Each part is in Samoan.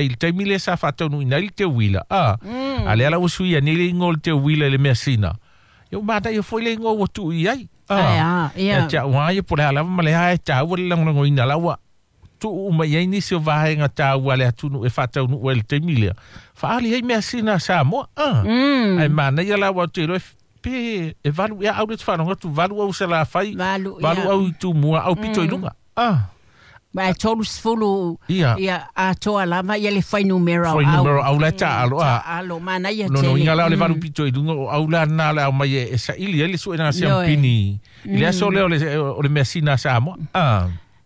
I le taimi lea sa faataunuuina ai le teuila a a lea la ua suia nei le igoa o le teuila i le measina. Ia ua manaia foi le igoa ua tuu i ai. Ae a, ia. Ia te au lava ia po o le a lava ma le a e taua le lagolagoina la ua tuu uma i ai nisi o vaega taua a le atunuu e faataunuu ai i le taimi lea. Faaali ai measina a Samoa. Ae manaia la aua ou te iloa pe e 8 ea au lea ou te faalogo atu 8 au Salafai, 8, 8 ia. au i Tumua, au pito i luga. Ma e 30 Ia. Ia atoa lava ia le fuainumera o au. Fuainumera o au la e taaalo a. Taaalo, manaia Lona tele. uiga la o le 8 pito i luga o au la na o le a omai e saili ai le suega a siampini i le aso lea o le measina a Samoa.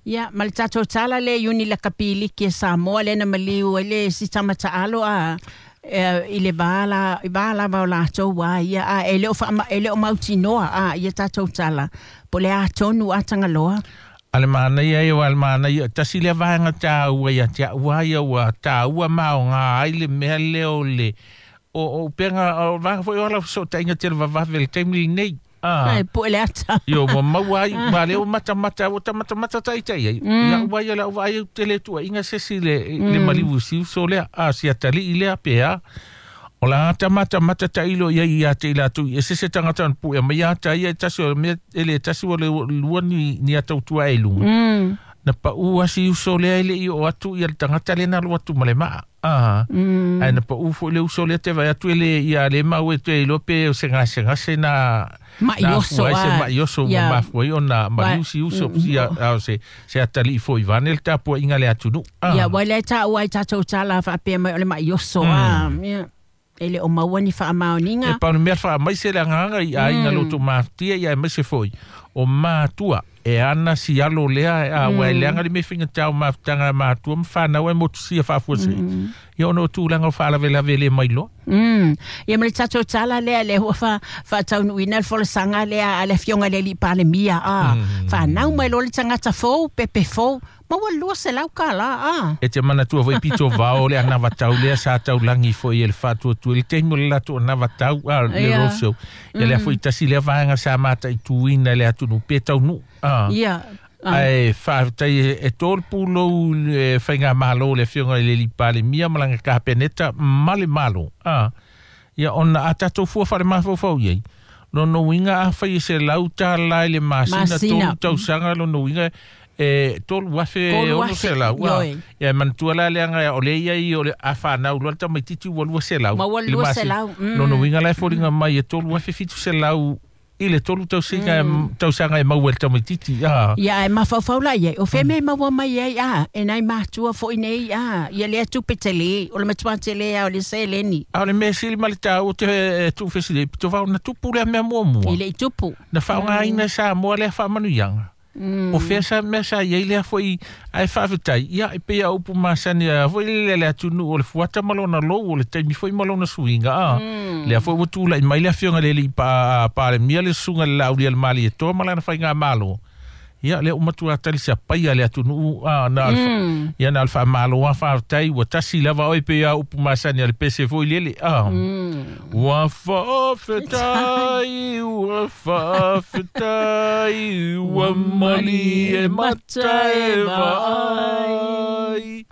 Ia, ma le tatou tala lea i uni lakapiliki a Samoa lea na maliu ai le isi tama taalo a i le va la, i va lava o latou a ia, a e le o wha, e le o mautinoa a ia tatou tala, po le a tonu a Tagaloa. A le manaia ia, a le manaia, tasi lea vaega taua ia te au a ia ua taua ma aoga ai le mea lea o le o upega o vaega foi o ala fesootaiga televavave i le taimi lenei. Ai, po le ata. Io, ua maua ai, ua lea ua matamata, ua tamatamata taitai ai. Ia ua ia lau vaai au tele tuuaiga se isi le maliu i si uso lea, a si atalii lea pe a. O la ata matamata tailo ia ia te i latou i ese se tagata ona puea mai ata ia e tasi o le mea e le tasi ua le lua ni ata utua e luga. Na pau a si uso lea e le i oo atu ia le tagata lea na alu atu ma le maa. Ae na pau foi le uso lea te vaai atu e le ia le mau e toe iloa pe o se gasegase na Ma'i na oso afua ai se a. ma'i oso ua mafua ai ona maliu si uso sia a o se atalii foi vaeane le tapuaiga a le atunuu. Ia, ua le taua ai tatou tala faapea mai o le ma'i oso a. Ia. E le o maua ni faamaoniga. E pau le mea faamaise le agaga i aiga loto mafutia ia aemaise foi o matua e ana si alo lea a ua e leaga le mea faigata o mafutaga a matua ma fanau e motusia faafuasei. Ia ona o tulaga o faalavelave e le mailoa. Ia ma le tatou tala lea lea ua faataunuuina le folasaga lea a le Afioga i le Alii Palemia a. Fanau mai loa le tagata fou, pepe fou, maua le 200 tala a. E te manatua foi pito vao le anavatau lea sa taulagi foi e le faatuatua i le taimi o le latou anavatau a le roadshow. Ia lea foi tasi lea vaega sa mataituina i le atunuu pe taunuu. Ia. Ae faafetai e tō le pulou le faigamalo le Afioga i le Alii Palemia ma lana Kapeneta ma le Malo. Ia ona a tatou fua faale-mafaufau i ai. Lona uiga afai e $100 i le masina, Masina. 3 tausaga lona uiga e 3,600. 3,000, ioe. Ia e manatua la leaga o lea ia i o le a fanau loa le tamaitiiti ua 200 Ma ua i le masina. 200, Lona uiga la e foliga mai e 3,700 i le 3 tausiga tausaga e maua e le tamaitiiti. Ia, e mafaufau la i ai. O fea mea e maua mai ai, a, e nai matua foi nei, a, ia lea tupe tele, o le matua tele a, o le seleni. A o le mea sili ma le taua te tuufesili, pito vao na tupu lea mea muamua. I le i tupu. Na faaaogaina e Samoa lea faamanuiaga. O fea sa mea sa i ai lea foi ae faafetai. Ia, e pei a upu masani a foi le le atunuu o le fuata ma lona lou, o le taimi foi ma lona suiga. Lea foi ua tulai mai le Afioga i le Alii Palemia le susuga i le Laaulialemalietoa ma lana faigamalo. Ia, lea ua matua tali sapaia le atunuu, na o le ia, na o le faamalo a faafetai, ua tasi lava oe pei a upu masani a le pese foi lele. Ua faafetai, ua faafetai, ua malie mata e vaai.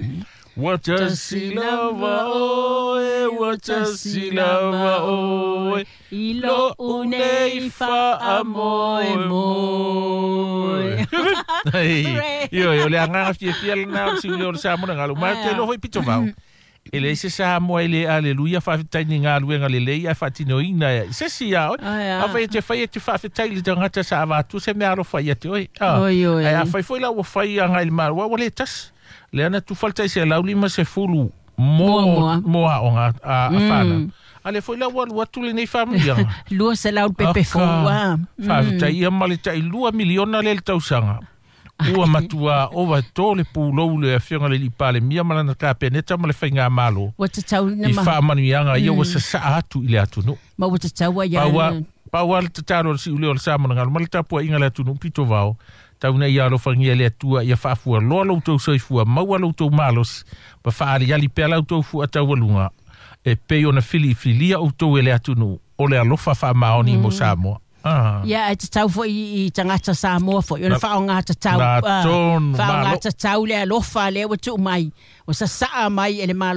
Ua tasi lava oe, ua tasi lava oe, i lou nei faamoemoe. Hei, ioe, o le agaga fiafia lena o le siuleo o le Samoa na galu. Ma te iloa foi pito vao. E leai se Samoa e le aleluia faafetai ni galuega lelei ae faatinoina e se isi ia oe. Afai e te fai e te faafetai i le tagata sa avatu se mea alofa ia te oe. Oi, oi. Ae afai foi la ua fai agai i le Malo, ua le tasi. Lea na tufa le tai 150 mo Muamua. mo aoga a fanau. A lea foi la ua alu atu lenei faamanuiaga. 200 pepe Aka, fou, a. Faafetai ia ma le tai 2 miliona lea i le tausaga. Ua matua ova tō le pulou le Afioga i le Alii Palemia ma lana Kapeneta ma le faigamalo. Ua tatau na I ma- faamanuiaga ia ua sasaa atu i le atunuu. Ma ua tatau ai Pau ia- pau a le tatalo o le siuleo o le Samoa na galu ma le tapuaiga le atunuu pito vao. Tau nei ia alofagia le Atua ia faafua loa lo outou soifua, maua lo outou malosi, ma faaliali pea la outou fuataualuga. E pei ona filifilia outou e le atunuu, o le alofa faamaoni mo Samoa. Ia ae tatau fo'i i tagata Samoa fo'i ona fa'aogā tatau La tonu, fa'aogā malo. Tatau le alofa lea ua tu'u mai ua sasa'a mai e le malo.